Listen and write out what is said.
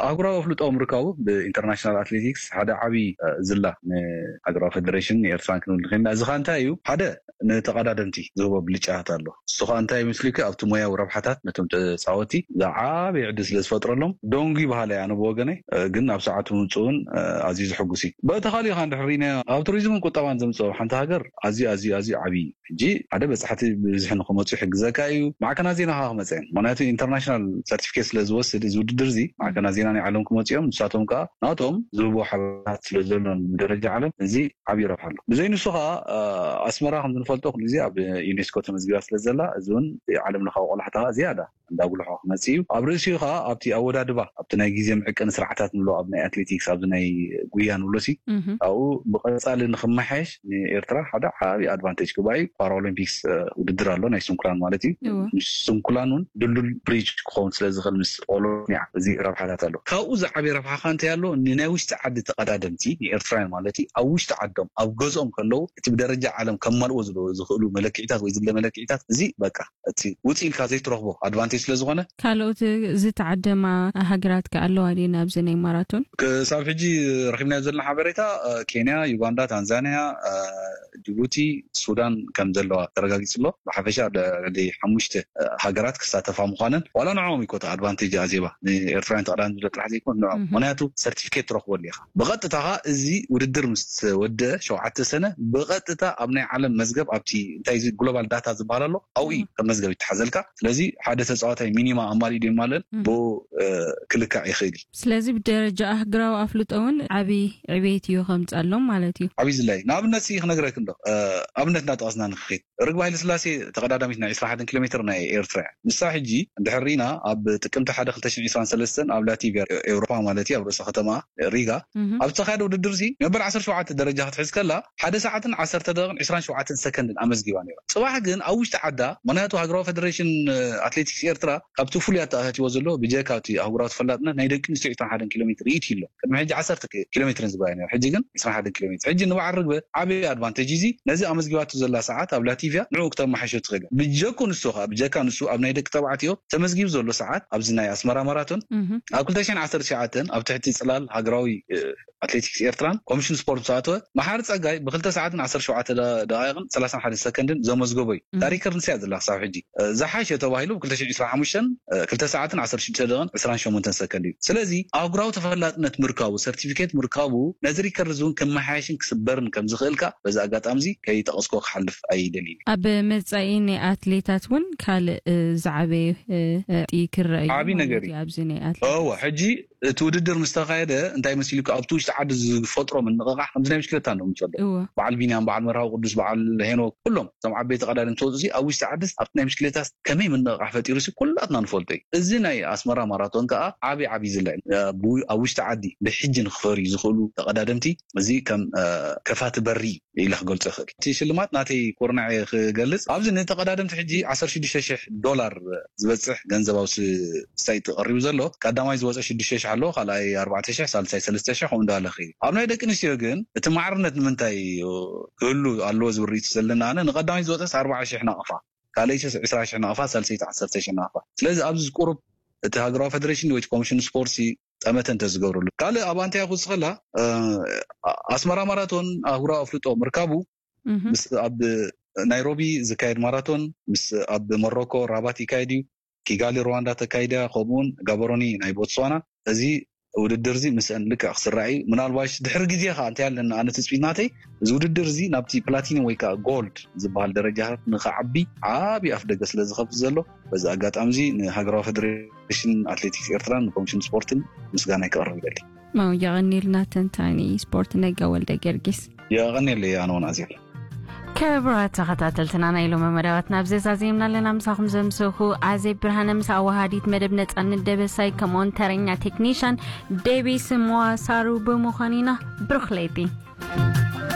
ኣህጉራዊ ኣፍልጦ ምርካቡ ብኢንተርናሽናል ኣትሌቲክስ ሓደ ዓብዪ ዝላ ንሃገራዊ ፌደሬሽን ንኤርትራን ክንብል ንኽእልና። እዚ ኸ እንታይ እዩ? ሓደ፣ ንተቐዳደምቲ ዝህቦ ብልጫታት ኣሎ። እሱ ኸ እንታይ ይመስልኪ? ኣብቲ ሞያዊ ረብሓታት ነቶም ተፃወቲ ዝዓበየ ዕድል ስለ ዝፈጥረሎም ደንጉ ይበሃል እየ ኣነ ብወገነይ። ግን ኣብ ሰዓቱ ምምፅኡን ኣዝዩ ዝሕጉስ እዩ። በቲ ካሊእ ኸ እንድሕር ርኢናዮ፣ ኣብ ቱሪዝምን ቁጠባን ዘምፅኦ ሓንቲ ሃገር ኣዝዩ ኣዝዩ ኣዝዩ ዓብዪ እዩ። ሕጂ ሓደ በፃሕቲ ብዝሒ ንክመፁ ይሕግዘካ እዩ። ማዕከናት ዜና ከዓ ክመፀ እየን። ምክንያቱ ኢንተርናሽናል ሰርቲፊኬት ስለ ዝወስድ እዚ ውድድር እዚ፣ ማዕከናት ዜና ናይ ዓለም ክመፁ እዮም። ንሳቶም ከዓ ናቶም ዝህቦ ሓበሬታት ስለ ዘሎን ብደረጃ ዓለም እዚ ዓብዪ ረብሓ ኣሎ። ብዘይ ንሱ ከዓ ኣስመራ ከም ዝንፈልጦ ኩሉ ግዜ ኣብ ዩኔስኮ ተመዝጊባ ስለ ዘላ፣ እዚ እውን ዓለም ለኻዊ ቆላሕታ ዝያዳ እንዳጉልሖ ክመፅእ እዩ። ኣብ ርእሲኡ ከዓ ኣብቲ ኣወዳድባ፣ ኣብቲ ናይ ግዜ መዕቀኒ ስርዓታት ንብሎ፣ ኣብ ናይ ኣትሌቲክስ፣ ኣብዚ ናይ ጉያ ንብሎ ሲ ኣብኡ ብቐፃሊ ንክመሓየሽ ንኤርትራ ሓደ ዓብዪ ኣድቫንቴጅ ክባ እዩ። ፓራኦሎምፒክስ ውድድር ኣሎ፣ ናይ ስንኩላን ማለት እዩ። ስንኩላን እውን ድልዱል ብሪጅ ክኸውን ስለ ዝኽእል ምስ ኦሎምፒያ፣ እዚ ረብሓታት ኣሎ። ካብኡ ዝዓበየ ረብሓ ከ እንታይ ኣሎ? ንናይ ውሽጢ ዓዲ ተቐዳደምቲ፣ ንኤርትራውያን ማለት እዩ፣ ኣብ ውሽጢ ዓዶም ኣብ ገዝኦም ከለዉ እቲ ብደረጃ ዓለም ከማልዎ ዝኽእሉ መለክዒታት ወይ ዝብለ መለክዒታት፣ እዚ በቃ እቲ ውፅእ ኢልካ ዘይትረኽቦ ኣድቫንቴጅ ስለ ዝኾነ። ካልኦት ዝተዓደማ ሃገራት ከ ኣለዋ ድየን ኣብዚ ናይ ማራቶን? ክሳብ ሕጂ ረኺብናዮ ዘለና ሓበሬታ፣ ኬንያ፣ ዩጋንዳ፣ ታንዛንያ፣ ጅቡቲ፣ ሱዳን ከም ዘለዋ ተረጋጊፁ ኣሎ። ብሓፈሻ ልዕሊ ሓሙሽተ ሃገራት ክሳተፋ ምዃነን፣ ዋላ ንዕኦም ይኮታ ኣድቫንቴጅ ኣዜባ፣ ንኤርትራውያን ተቐዳደምቲ ጥራሕ ዘይኮን ንዕኦም። ምክንያቱ ሰርቲፊኬት ትረኽበሉ ኢኻ ብቐጥታ። እዚ ውድድር ምስ ወደ ሸውዓተ ሰነ ብቐጥታ ኣብ ናይ ዓለም መዝገብ፣ ኣብቲ እንታይ እዚ ግሎባል ዳታ ዝበሃል ኣሎ፣ ኣብኡ እዩ ከም መዝገብ ይተሓዘልካ። ስለዚ ሓደ ተፃዋታይ ሚኒማ ኣማሊኡ ድዩ ማለት ብኡ ክልካዕ ይኽእል እዩ። ስለዚ ብደረጃ ኣህግራዊ ኣፍልጦ እውን ዓብዪ ዕቤት እዩ ከምፀሎም ማለት እዩ። ዓብዪ ዝላይ ንኣብነት ሲ ክነግረክ እንዶ ኣብነት እናጠቐስና ንክድ ርግብ ሃይለ ስላሴ ተቐዳዳሚት ናይ ዕስራን ሓደን ኪሎ ሜትር ናይ ኤርትራ እያ። ንሳ ሕጂ እንድሕር ርኢና ኣብ ጥቅምቲ ሓደ ክልተ ሽሕን ዕስራን ሰለስተን ኣብ ላቲቪያ ኤውሮፓ ማለት እዩ ኣብ ርእሰ ከተማ ሪጋ ኣብ ዝተኻየደ ውድድር ሲ መበል ዓሰርተ ሸውዓተ ደረጃ ክትሕዝ ከላ ሓደ ሰዓትን ዓሰርተ ደቂቕን ዕስራን ሸውዓተን ሰከንድን ኣመዝጊባ ነይራ። ፅባሕ ግን ኣብ ውሽጢ ዓዳ ምክንያቱ ሃገራዊ ፌደሬሽን ኣትሌቲክስ ኤርትራ ካብቲ ፍሉይ ኣተኣታትዎ ዘሎ ብጀካ እቲ ኣህጉራዊ ተፈላጥነት ናይ ደቂ ኣንስትዮ ዕስራን ሓደን ኪሎ ሜትር ይእቲ ኣሎ። ቅድሚ ሕጂ ዓሰርተ ኪሎ ሜትርን ዝጎያ ነይራ። ሕጂ ግን ዕስራን ሓደን ኪሎ ሜትር። ሕጂ ንበዓል ርግበ ዓብዪ ኣድቫንቴጅ እዚ ነዚ ኣመዝጊባቱ ዘላ ሰዓት ኣብ ላቲቪያ ንዕኡ ክተመሓሾ ትኽእል። ብጀኩ ንሱ ከዓ ብጀካ ንሱ ኣብ ናይ ደቂ ተባዕትዮ ተመዝጊቡ ዘሎ ሰዓት ኣብዚ ናይ ኣስመራ ማራቶን ኣብ ክልተ ሽሕን ዓሰርተ ትሽዓተን ኣብ ትሕቲ ፅላል ሃገራዊ ኣትሌቲክስ ኤርትራን ኮሚሽን ስፖርት ዝተኣተወ መሓሪ ፀጋይ ብክልተ ሰዓትን ዓሰርተ ሸውዓተ ደቃይቅን ሰላሳን ሓደ ሰከንድን ዘመዝገቦ እዩ። ታሪክ ርንስያ ዘላ ክሳብ ሕጂ ዝሓሸ ተባሂሉ ብ ክልተ ሽሕን ዕስራን ሓሙሽተን ክልተ ሰዓትን ዓሰርተ ሽዱሽተ ደቂቅን ዕስራን ሸሞንተን ሰከንድ እዩ። ስለዚ ኣህጉራዊ ተፈላጥነት ምርካቡ፣ ሰርቲፊኬት ምርካቡ ነዚ ሪከርድ እውን ክመሓየሽን ክስበርን ከም ዝኽእልካ በዚ ኣጋጣሚ እዚ ከይጠቐስኮ ክሓልፍ ኣይደልይን። ኣብ መጻኢ ናይ ኣትሌታት እውን ካልእ ዝዓበየ ክረአ እዩ። ዓብዪ ነገር እዩ ኣብዚ ናይ ኣትሌታት። እወ ሕጂ እቲ ውድድር ምስ ተኻየደ እንታይ መሲሉካ ኣብቲ ውሽጢ ዓዲ ዝፈጥሮ ምንቕቓሕ ከምዚ ናይ ምሽክለታ እንዶ ምንፈልጦ እወ። በዓል ቢንያም፣ በዓል መርሃዊ ቅዱስ፣ በዓል ሄኖክ፣ ኩሎም እቶም ዓበይቲ ቀዳድም ተወፅኡ ኣብ ውሽጢ ዓድስ ኣብቲ ናይ ምሽክለታስ ከመይ ምንቕቓሕ ፈጢሩ ሲ ኩላትና ንፈልጦ እዩ። እዚ ናይ ኣስመራ ማራቶን ከዓ ዓብዪ ዓብዪ ዝላ እዩ። ኣብ ውሽጢ ዓዲ ብሕጂ ንክፈርዩ ዝኽእሉ ተቐዳደምቲ እዚ ከም ከፋቲ በሪ ኢለ ክገልፆ ይኽእል። እቲ ሽልማት ናተይ ኩርናዕ ክገልፅ ኣብዚ ንተቐዳደምቲ ሕጂ ዓሰርተ ሽዱሽተ ሽሕ ዶላር ዝበፅሕ ገንዘባዊ ሳይት ቀሪቡ ዘሎ ቀዳማይ ዝወፀ ሽዱሽተ ሽሕ ኣለዎ፣ ካልኣይ ኣርባዕተ ሽሕ፣ ሳልሳይ ሰለስተ ሽሕ ከምኡ እንዳለ ኸይዱ። ኣብ ናይ ደቂ ኣንስትዮ ግን እቲ ማዕርነት ንምንታይ ክህሉ ኣለዎ ዝብል ርእይቶ ዘለና ኣነ ንቀዳማይ ዝወፀስ ኣርባዓ ሽሕ ናቕፋ፣ ካልኣይ ዕስራ ሽሕ ናቕፋ፣ ሳልሰይቲ ዓሰርተ ሽሕ ናቕፋ። ስለዚ ኣብዚ ቁሩብ እቲ ሃገራዊ ፌደሬሽን ወይ ኮሚሽን ስፖርት ጠመተ እንተዝገብረሉ። ካልእ ኣብ ኣንታይ ክውስኸላ ኣስመራ ማራቶን ኣህጉራዊ ኣፍልጦ ምርካቡ ምስ ኣብ ናይሮቢ ዝካየድ ማራቶን ምስ ኣብ ሞሮኮ ራባት ይካየድ እዩ። ኪጋሊ ሩዋንዳ ተካይዳ ከምኡውን ጋበሮኒ ናይ ቦትስዋና። እዚ ውድድር እዚ ምስአን ልክዕ ክስራዕ እዩ። ምናልባሽ ድሕሪ ግዜ ከዓ እንታይ ኣለና ኣነ ትፅቢት ናተይ እዚ ውድድር እዚ ናብቲ ፕላቲኒም ወይ ከዓ ጎልድ ዝበሃል ደረጃ ንክዓቢ ዓብዪ ኣፍ ደገ ስለ ዝኸፍት ዘሎ በዚ ኣጋጣሚ እዚ ንሃገራዊ ፌደሬሽን ኣትሌቲክስ ኤርትራን ንኮሚሽን ስፖርትን ምስጋና ከቕርብ ይደሊ። ማው የቐኒልና ተንታኒ ስፖርት ነጋ ወልደ ጊዮርጊስ። የቐኒለይ ኣነ እውን ኣዜብ። ክቡራት ተኸታተልትና ናይ ሎሚ መደባትና ኣብዚ ዛዚምና ኣለና። ምሳኹም ዘምስኹ ኣዜብ ብርሃነ ምስ ኣዋሃዲት መደብ ነፃነት ደበሳይ ከምኡውን ተረኛ ቴክኒሻን ዴቪስ መዋሳሩ ብምዃን ኢና። ብሩኽ ለይቲ።